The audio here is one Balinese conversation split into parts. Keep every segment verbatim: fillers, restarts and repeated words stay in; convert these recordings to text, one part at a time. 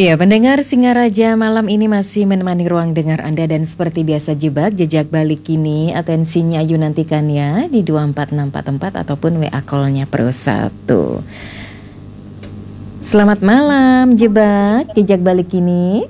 Ya, pendengar Singaraja, malam ini masih menemani ruang dengar Anda dan seperti biasa Jebak, Jejak Balik Kini, atensinya Ayu nantikan ya di dua empat enam empat empat ataupun W A call-nya Pro satu. Selamat malam, Jebak, Jejak Balik Kini.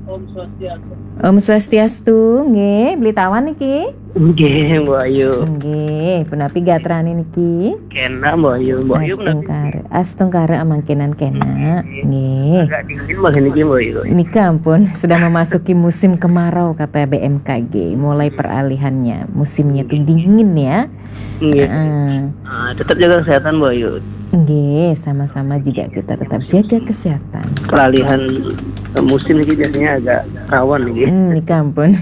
Om Swastiastu. Om Swastiastu, nggih, beli tawan niki? Nggih, Mbok Ayu. Nggih, punapi gatrane niki? Kena, Mbok Ayu. Mbok Ayu punapi? Astungkara. Astungkara amangkenan kena. Nggih. Nggih. Agak dingin, Mbok, niki, Mbok Ayu. Nika ampun, sudah memasuki musim kemarau kata B M K G. Mulai peralihannya, musimnya tuh dingin ya. Nggih. Heeh. Ah, tetap jaga kesehatan, Mbok Ayu. Nggih, sama-sama juga kita tetap jaga kesehatan. Peralihan, eh, musim niki biasanya agak rawan niki. Hmm, nika ampun.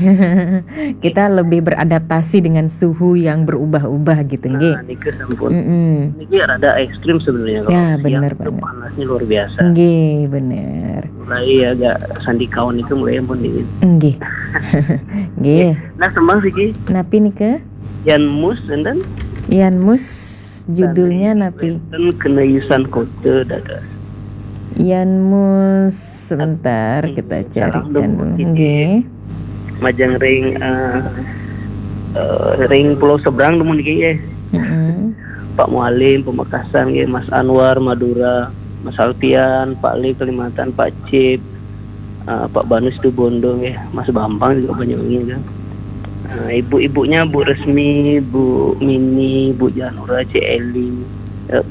Kita lebih beradaptasi dengan suhu yang berubah-ubah gitu, nggih. Nah, niki sampun. Mm-mm. Niki rada ekstrim sebenarnya kalau siang itu panasnya luar biasa. Ya, bener banget. Nggih, bener. Mulai agak sandikaun itu mulai ampun dingin. Nggih. Nggih. Nah, tembang siki. Napi nika? Yan Mus, enten? Yan Mus, judulnya napi? Enten kena yusan kota dados. Yan Mus, sebentar kita carikan dulu. Nggih. Majeng ring, eh, eh, ring pulau seberang dumun niki, nggih. Mm-mm. Pak Mualim, Pamekasan, nggih, Mas Anwar, Madura, Mas Alfian, Pak Li, Kalimantan, Pak Cip, eh, Pak Banu Situbondo, nggih, Mas Bambang juga banyak ini kan. Eh, ibu-ibunya Bu Resmi, Bu Mini, Bu Janura, Cik Eli, eh,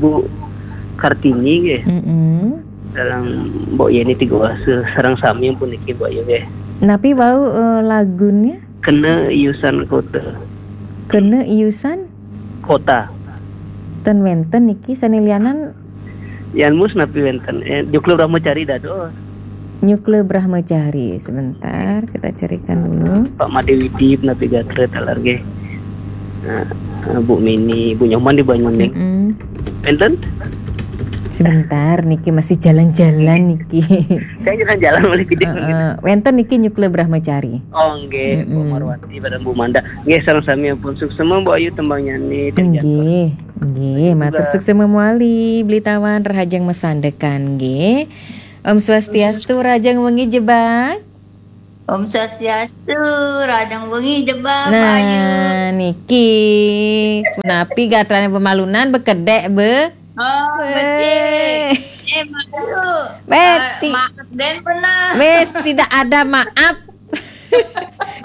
Bu Kartini, nggih. Mm-mm. Sareng Mbok Yeni Tigoasa, sareng sami pun niki, Mbok Ayu, nggih. Napi wau, eh, lagunya? Kena Iusan Kota. Kena Iusan? Kota. Ten wenten niki sane lianan. Yan Mus napi wenten? Eh, Nyukle Brahmacari dados. Nyukle Brahmacari, sebentar kita carikan dulu. Pak Made Widi napi gatra taler nggih. Nah, Bu Mini, Bu Nyoman di Banyuning. Mm-mm. Wenten? Sebentar niki masih jalan-jalan niki. Saya jalan-jalan oleh gede. Heeh, wenten niki Nyukle Brahmacari. Oh, nggih, Bu Marwati, pada Bu Manda. Nggih, sareng sami ampun suksema, Mbok Ayu, tembang nyane. Nggih, nggih, matur suksema mawali, beli tawan rahajeng masandekan, nggih. Om Swastiastu, rahajeng wengi Jebak. Om Swastiastu, rahajeng wengi Jebak, Mbok Ayu. Nah, niki. Punapi gatrane pemalunan bekedek, be? Oh, becik. Eh, Mbok Ayu. Beti. Eh, maaf den pernah. Wes, tidak ada maaf.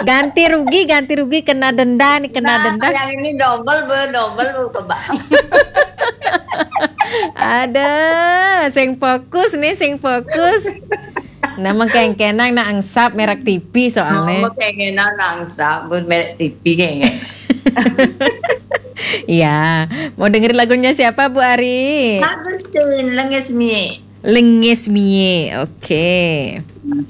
Ganti rugi, ganti rugi, kena denda nih, kena denda. Nah, yang ini double, be, double, be, kebang. Ada, sing fokus nih, sing fokus. Nah, mengkengkenang nak angsap merek T V soalnya. Oh, mengkengkenang nak angsap, bu, merek T V kayaknya. Iya, mau dengerin lagunya siapa, Bu Ari? Agustin, Lenges Mie. Lenges Mie, oke.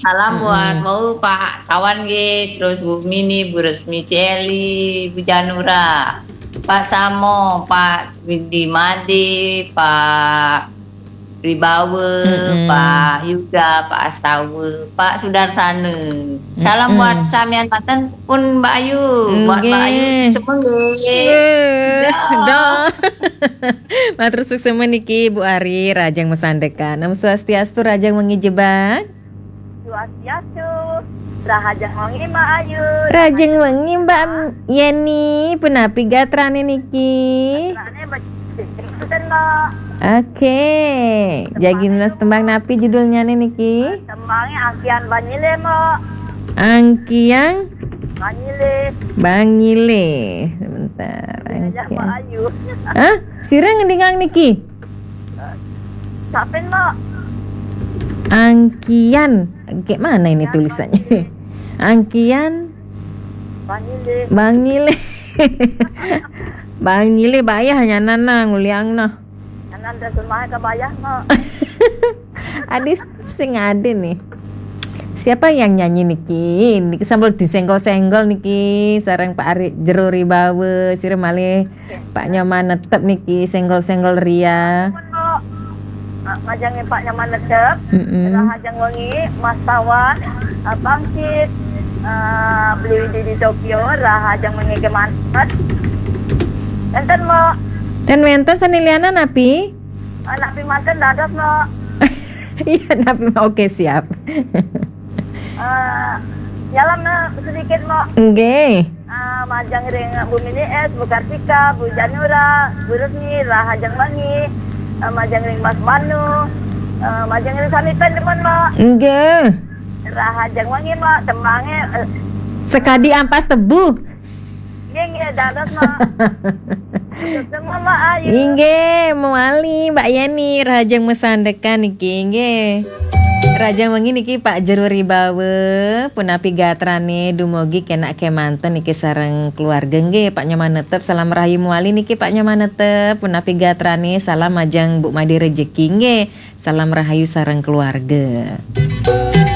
Salam buat, mm-mm, mau Pak Tawan, nggih, terus Bu Mini, Bu Resmi Celi, Bu Janura, Pak Samo, Pak Widi Made, Pak Ribawa, mm-mm, Pak Yuda, Pak Astawa, Pak Sudarsana. Salam, mm-mm, buat samian manten pun Mbak Ayu, buat Mbak Ayu, nggih, semua nggih. Nggih. Dah. Dah. Matur suksema niki, Bu Ari, rahajeng masandekan. Om Swastiastu, rahajeng wengi Jebak. Swastiastu, rahajeng wengi Mbak Ayu. Rahajeng wengi Mbak Yeni, punapi gatrane niki? Gatrane becik, Mbak. Oke, jagi nunas tembang napi judulnya nih niki? Tembangnya Angkian Banyile, Mbak. Angkian Banyile. Banyile. Sebentar, iya, Angkian. Mbak Ayu. Hah? Sira ngendingang niki? Sapin, Mbok? Angkian. Kayak mana ini tulisannya? Angkian. Banyile. Banyile. Banyile bayah nyanan nah nguliang nah. Nyanan terjemahnya ke bayah, Mbok. Adi sing ade nih. Siapa yang nyanyi niki? Niki sambil disenggol-senggol niki sareng Pak Ari Jero Ribawa, sira malih Pak Nyoman Netep niki, senggol-senggol ria. Nuhun, Mbok. Ah, majangin Pak Nyoman Netep. Mm-mm. Rahajeng wengi, Mas Tawan, ah, Bangkit, ah, beli di, di Tokyo, rahajeng wengi kemanten. Enten, Mbok. Ten wenten sane lianan napi? Ah, napi manten dados, Mbok. Iya, napi, Mbok? Oke, siap. Eh, nyalam, eh, sedikit, Mbok. Nggih. Eh, majeng ring Bu Mini S, Bu Kartika, Bu Janura, Bu Rusmi, rahajeng wengi. Eh, majeng ring Mas Manu. Eh, majeng ring sami pun, Mbok. Nggih. Rahajeng wengi, Mbok. Tembange, eh, Sekadi ampas tebu. Nggih, nggih, dados, Mbok. Semua, Mbok Ayu. Inggih, mawali Mbok Yeni, rahajeng masandekan niki, nggih. Rahajeng wengi niki Pak Jero Ribawa, punapi gatrane, dumugi kenak kemanten niki sareng keluarga, nggih. Pak Nyoman Netep, salam rahayu mawali niki Pak Nyoman Netep, punapi gatrane, salam majeng Bu Made Rejeki, nggih. Salam rahayu sareng keluarga.